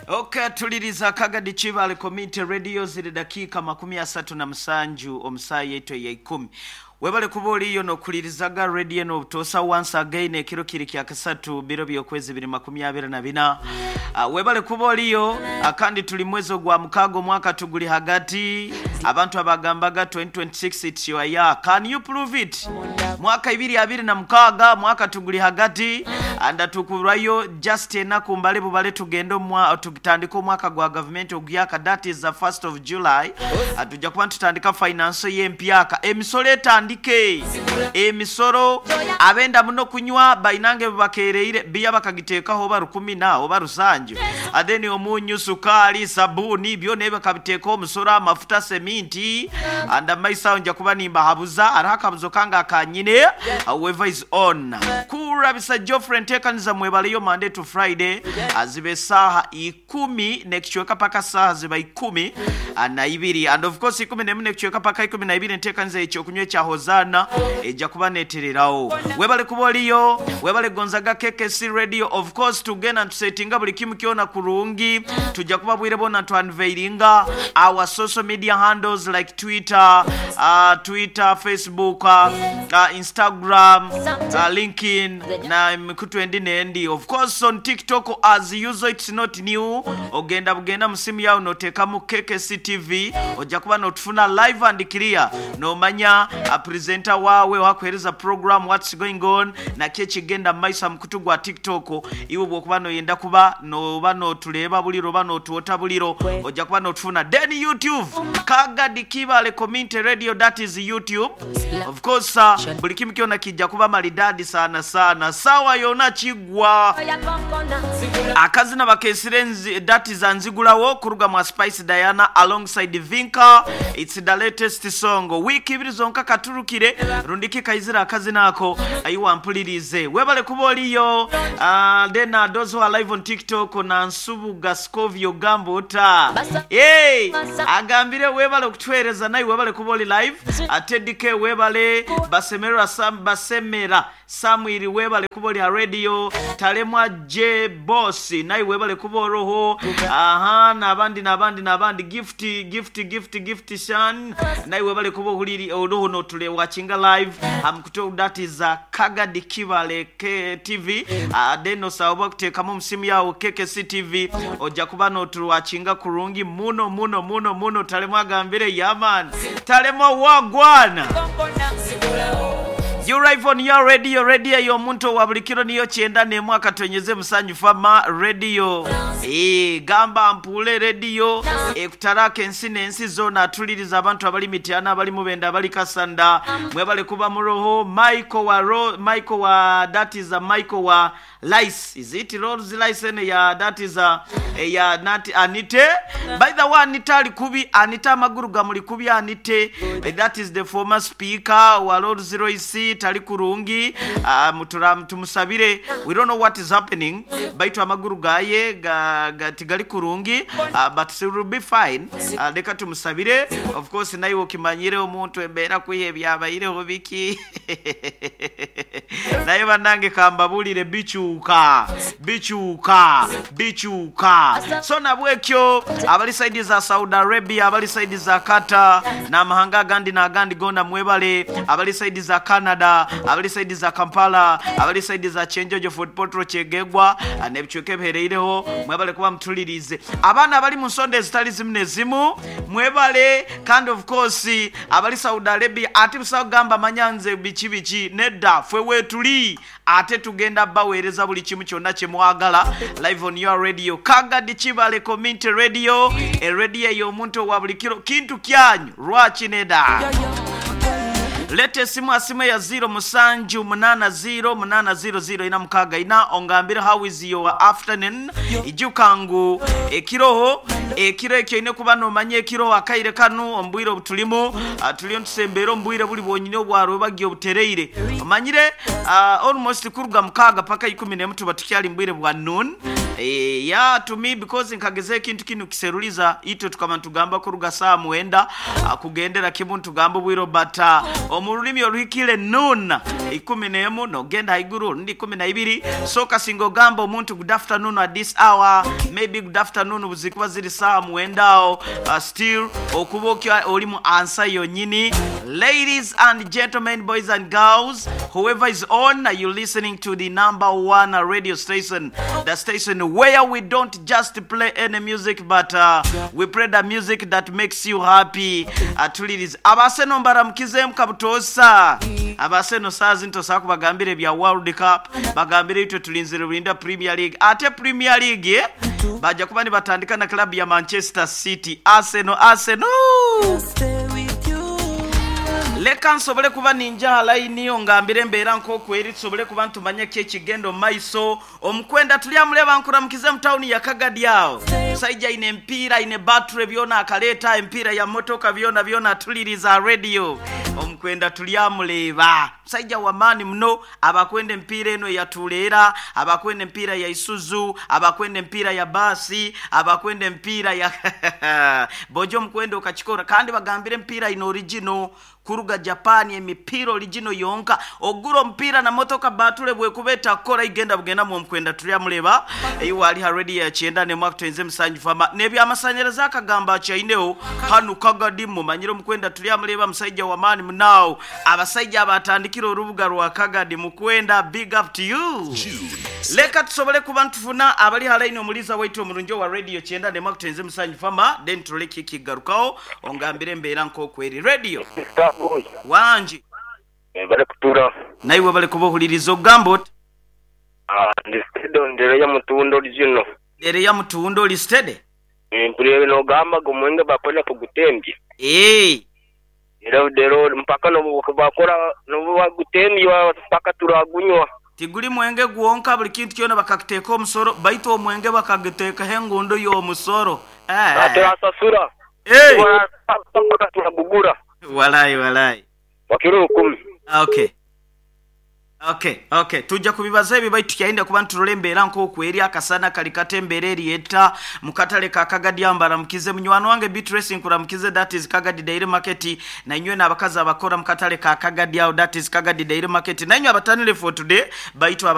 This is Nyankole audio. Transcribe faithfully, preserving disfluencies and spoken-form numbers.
Okay, tuliriza Kagadi Kibale Community Radio, ziri dakiika makumi asatu na musanju omusaa yaitu eya ikumi. Webale kuba oliyo nokulirizaga radio nobutosa. Once again, ekiro kiri kya kasatu, biro byokwezi biri makumi abiri na bina. uh, webale kuba oliyo. uh, kandi tuli mwezi ogwa mukaaga, omwaka tuguli hagati. Abantu abagambaga twenty twenty-six, it's your year, can you prove it? Mwaka ibiri abiri na mukaaga, mwaka tuguli hagati, anda tukurayo just enaku mbale bubale tugende omwa- tutandike omwaka gwa gavumenti oguyaka, that is the first of July. Ah, tujja kuba tutandika finance y'empyaka, emisolo etandike, emisolo. Abenda muno kunywa bainange bakereire biya bakagiteekaho oba rukumi na oba rusanju, then omunyu, sukaali, sabuni, byona bakabiteekaho omusolo, amafuta, seminti. And amaiso nja kuba nimbahabuza hariho akabuzo kange akanyine. Whoever is on kurabisa Geoffrey nteekaniza, mwebaleyo Monday to Friday, aziba esaaha ikumi nekicweka paka saaha ziba ikumi ah, na ibiri. And of course ikumi nemu nekicweka paka ikumi na ibiri, enteekaniza ekyokunywa ekya Hozana ejja kuba netererawo. Webale kuba oliyo, webale gonzaga K K C Radio. Of course tugenda ntusetinga buli kimu kyona kurungi. Tujja kuba bwire bona ntu-unveilinga our social media handles like Twitter, uh, Twitter, Facebook, uh, uh, Instagram, uh, LinkedIn na emikutu endi nendi. Of course on TikTok, as usual, it's not new. Ogenda bugenda mu simu yawe noteekamu K K C T V, ojja kuba notufuna live and clear, nomanya uh, presenter wawe wakuhereza program, what's going on, naki ekigenda mu maiso mukutu gwa TikTok. Iwe bwokuba noyenda kuba noba notuleeba buliro oba notuwota buliro, ojja kuba notufuna. Then YouTube, Kagadi Kibale Community Radio, that is YouTube. Of course uh, buli kimu kyona kijja kuba maridadi sana sana, sawa yona kigwa. Akazina bakesire nzi- dati za nzigulawo kuruga mwa Spice Diana alongside Vinka. It's the latest song, wiiki ibiri zonka katurukire rundiki kaizira akazina ako ayiwa mpulirize. Webale kuba oliyo. uh, then uh, those who are live on TikTok, na Nsubuga Scovio Gambuta, hey, agambire webale okutuweereza, naye webale kuba oli live. uh, Teddy K webale, Basemera Sam, Basemera Samuel webale kuba oli ha radio. Talemwa J Boss naye webale kuba oroho. Aha, n'abandi n'abandi n'abandi, Gift, Gift, Gift, Gift Shan naye webale kuba ohuliri oroho notule watchinga live hamukuto, that is uh, Kagadi Kibale K T V. uh, then osaba kuteekamu omusimu yawo K K C T V, ojja kuba notuwatchinga kurungi muno muno muno muno. Talemwa agambire, yaman Talemwa wagwana. You live on your radio, radio y'omuntu wa buli kiro niyo kyenda n'emu akatonyeze musanyu fama radio. Eh, gamba mpule radio ekutaraka ensi n'ensi zona. Atuliriza abantu abali Mityana, abali Mubenda, abali Kasanda, mwebale kuba muroho. Michael wa Ro, Michael wa, that is a Michael wa Lice, is it Rolls Lice ene ya, that is a eh, ya nati Anite. By the way, Anita ali kubi, Anita amaguru gamuli kubi. Anite, eh, that is the former speaker wa Rolls Royce, tali kurungi. uh, mutura tumusabire. We don't know what is happening, baitu amaguru gaye ga, ga tigali kurungi, uh, but it will be fine. uh, leka tumusabire. Of course naye okimanyire omuntu embeera kwiha ebyabayireho biki, naye bannange kambabulire, bikyuka, bikyuka, bikyuka. So nabwekyo abali side za Saudi Arabia, abali side za Qatar n'amahanga agandi n'agandi gona, mwebale. Abali side za Canada, abali side za Kampala, abali side za Kyenjojo, Fort Portal, Kyegegwa n'ebicweka ebihereireho, mwebale kuba mutulirize. Abaana abali mu nsonda ezitali zimu nezimu, mwebale. Kandi of course abali Saudi Arabia, ate busawo gamba manyanze biki biki, nedda, ffe weetuli ate tugenda baweereza buli kimu kyonna kye mwagala live on your radio, Kagadi Kibale Community Radio, eradio ey'omuntu owa buli kiro. Kintu kyanyu lwaki nedda? Leta esimu asimu ya zero musanju munana zero munana zero zero ina mukaaga ina, ongambire how is your afternoon. Ijuka ngu ekiroho ekiro ekyo ine kuba nomanya ekiroho akaire kanu ombwire obutulimu, uh, tuliyo ntusembeera ombwire buli bwonyine obwaro bagiye obutereire omanyire, uh, almost kuruga mukaaga paka ikumi nemu tuba tukyali mbwire bwa noon. Eh, yeah to me because nkageza ekintu kinu kiseruliza itwe tukaba ntugamba kuruga saa mwenda ah, kugendera kimu ntugamba obwire but ah, omu rulimi oruhikire noon ikumi n'emu nogenda haiguru rundi ikumi na ibiri so kasinga ogamba omuntu good afternoon at this hour maybe good afternoon buzikuba ziri saa mwenda awo uh, still okuba okya oli mu ansa yonyini ladies and gentlemen boys and girls whoever is on you listening to the number one radio station the station where we don't just play any music but uh, we play the music that makes you happy uh, tuliriza abaseno mbaramukizeemu kabutosa abaseno saazi ntosobola kubagambira ebya world cup bagambire itwe tulinzire bulinda premier league ate premier league eh? bajja kuba nibatandika na club ya manchester city arsenal arsenal leka nsobole kuba ninja layini ngambire embeera nk'okweri tusobole kuba ntumanye ki ekigenda omu maiso omukwenda tulyamuleba nkuramukize mu tawuni ya kagadi awo musajja aine empiira aine battery byona akaleeta empiira ya motoka byona byona atuliriza radio omukwenda tulyamuleba musajja wamaani muno abakwenda empiira eno eyatuleera abakwenda empiira ya isuzu abakwenda empiira ya baasi abakwenda empiira ya bojo omukwenda okakikora kandi bagambire empiira ino original kuruga japan emipiira original yonka ogura omupiira na motoka batule bwekuba etakora igenda bugenda mu omukwenda tulyamuleba iwe ali ha radio ya kyenda nemwaka twenze musanju fama n'ebyamasanyalaze akagamba akyaineho hanu kagadi mumanyire omukwenda tulyamuleba musajja wamaani munaawo abasajja abatandikira orubuga rwa kagadi mukwenda big up to you leka tusobole kuba ntufuna abali halaini omuliza waitu omurungi owa radio kyenda nemwaka twenze musanju fama then tuleke kigarukaho ongambire embeera nk'okweri radio wangi bari kutura naiwe bali kubuhuliriza ogamba oti ndi stedo ndere ya mutundo original ere ya mutundo oli steady mpurebe nogamba gomwenge bakwenda kugutembya ee era dero mpaka nobu bakora nobu bagutembya mpaka turagunywa tiguli mwenge gwonka buli kintu kyona bakakuteeka omusoro baitu omwenge bakaguteekaho engundo y'omusoro Eh, turasasura eh. mpaka turagugura walayi walayi wakiro rukumi okay okay okay tujja kubibaza ebyo baitu tukyainda kuba nturola embeera nk'okweri akasana kali kata embeera eriyeta mukatale ka kagadi ambaramukize munywani wange beatrice nkuramukize that is kagadi dairy market nainywe n'abakazi abakora mukatale ka kagadi awo that is kagadi dairy market nainywe abatanire for today baitu aba